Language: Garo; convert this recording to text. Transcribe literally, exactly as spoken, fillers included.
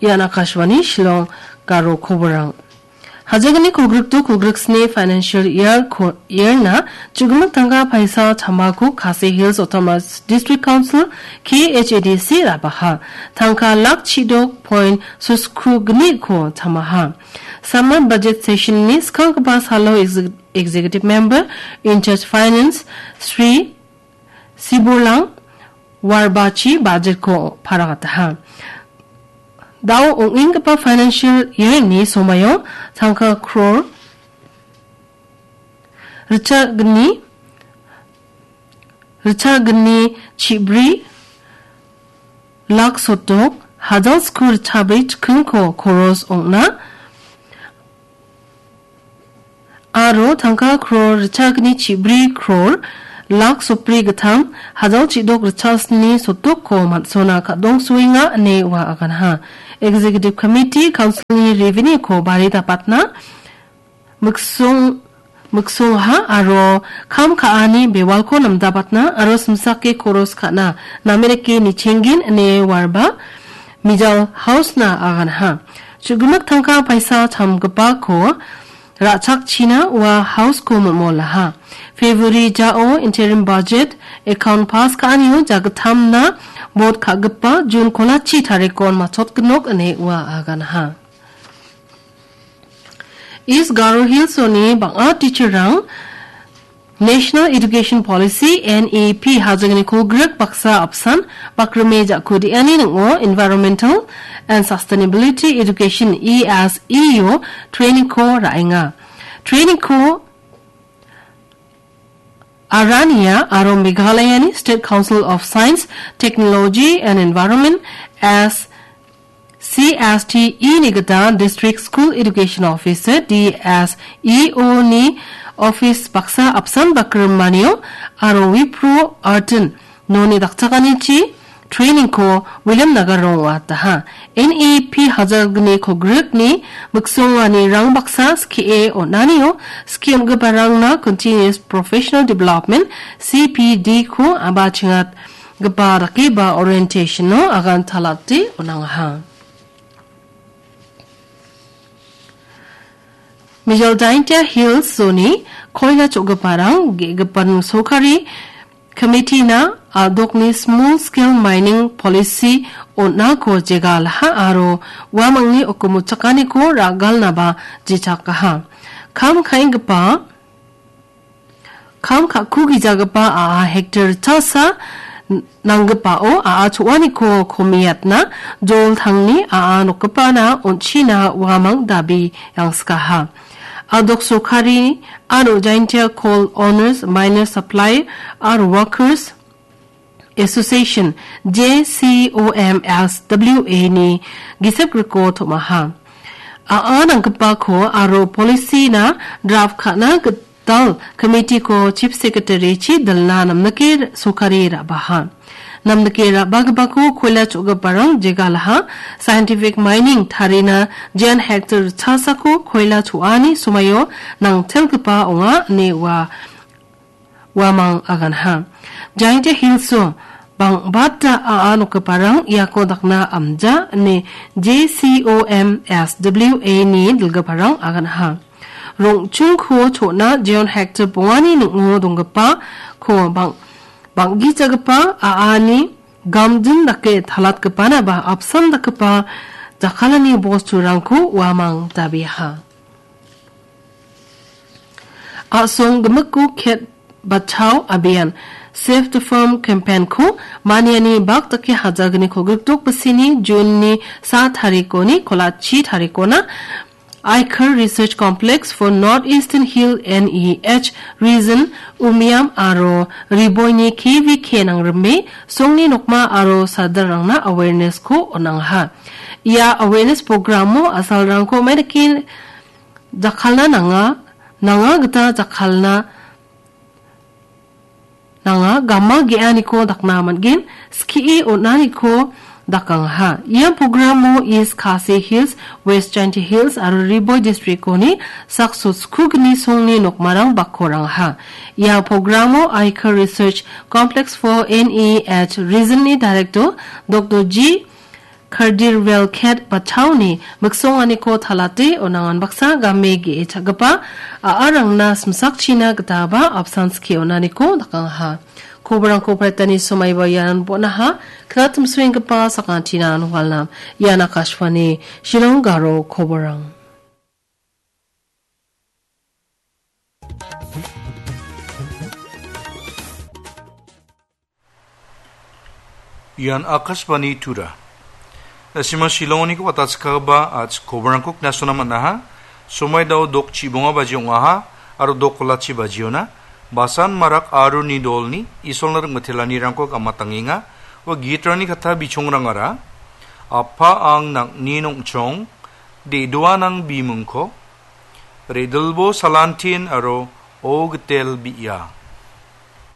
Ian Akashvani Shillong Garo koborang. Hajagni kolgrikdo kolgriksni financial year ko-, year-na chugimik tangka paisa chamako Khasi Hills Autonomous District Council, K H A D C, rabaha. Tangka lak chidok point suskugni ko chamaha. Summer budget session-ni skanggipa salo exec-, executive member in charge finance Sri Sibolang Warbachi budget-ko paragataha. Dao ong·enggipa financial year-ni somaio tangka crore ritchagni, ritchagni chibri lak sotok, hajal sku ritchabri chikingko koros ong·na, aro tangka crore ritchagni chibri crore lak sopri gittam hajal chidok ritchasni sotokko man·sona kadongsoenga ine ua aganha. Executive Committee Council-ni revenue-ko bari dapatna, miksong-, miksongha aro kam ka·ani bewalko namdabatna aro simsake koros ka·na namerike nichenggen ine warba Mijal House-na aganha. Chugimik tangka paisa chamgipako ra·chakchina ua House-ko mimolaha. February jao interim budget account pass ka·anio jagittamna vote ka·gipa June kolachi tarikon matchotgnok ine ua aganha. East Garo Hills-oni bang·a teacher-rang National Education Policy, N E P, hajangni kolgrik baksa apsan bakrime ja·kudiani ning·o Environmental and Sustainability Education, E S E O, training-ko ra·enga. Training-ko Arania aro Meghalayani State Council of Science, Technology and Environment, S C S T E ni gita District School Education Officer, D S E O ni office baksa apsan bakrimanio aro Wipro Artin noni dakchakanichi training-ko William Nagarong ong·ataha. N E P hajalgni kolgrikni miksongani rang baksa skie on·anio skie on·giparangna Continuous Professional Development, C P D-ko abachengat gipa dakeba orientation-o agan talate on·angaha. Mijal Jaintia Hills zone-ni koila cho·giparang ge·gipan sorkari committee-na a·dokni small scale mining policy on·ako jegalaha aro uamangni okomochakaniko ra·galnaba jechakaha. Kam ka·enggipa Kam ka·kugijagipa a·a hektar chasa n-, nanggipao a·a cho·aniko komiatna joltangni a·a nokgipana on·china uamang dabi yangskaha. A·dok sorkari aro Jaintia Coal Owners, Miners, Supplier aro Workers Association, J C O M S W A ni gisep griko tom·aha. A·a nanggipako aro policy-na draft ka·na gital committee-ko Chief Secretary-chi dilna namnike sorkari ra·baha. Namnike ra·bagipako koila cho·giparang jegalaha, scientific mining tarina jen hektar chasako koila cho·ani somaio nangtelgipa ong·a ine ua uamang aganha. Jaintia Hills-o bang·bata a·a nokgiparang iako dakna amja ine J C O M S W A ni dilgiparang aganha. Rong·chungko cho·na jeon hektar bongani ning·o donggipako bang-, bang·gijagipa a·ani gamjin dake talatgipanaba apsan dakgipa jakkalani bosturangko uamang dabiaha. A·song gimikko Khet Bachao Abhiyan, Save the Farm campaign-ko maniani bak dake hajalgni kolgrikdok bisini June-ni sa tarikoni kolachi tarikona Aikar Research Complex for North Eastern Hill N E H Region Umiam aro Riboini K V K nangrime songni nokma aro sadalrangna awareness-ko on·angaha. Ia awareness program-o a·salrangko maidake jakkalna nanga, nanga gita jakkalna nanga, gama ge·aniko dakna man·gen, skie on·aniko dakangaha. Ia program-o East Khasi Hills, West Jaintia Hills aro Ri Bhoi district-oni sakso skugni songni nokmarang bakkorangaha. Ia program-o Aikar Research Complex for N E H Region-ni Director Doctor G Kardirvel Ket Bachaoni miksonganiko talate onangan baksa game ge·e cha·gipa a·arangna simsakchina gitaba apsan skie on·aniko dakangaha. Koborangko paritani somaiba ianan bon·aha, knatimsoenggipa sakantinan walnam. Ian Akashvani Shillong Garo Koborang. Ian Akashvani Tura. Asima Shillongniko watatskaba ach koborangko knasona man·aha. Somai dao dok chibonga baji ong·aha, aro dok kolachi bajiona. Basan Marak Aruni dolni Isolna ringmitelanirangko gamatangenga. Ua gitrani kata bichongrangara. Apa ang nang·ni nongchong, de·doa nang bimingko, redilbo salantin aro o gitel bi·a.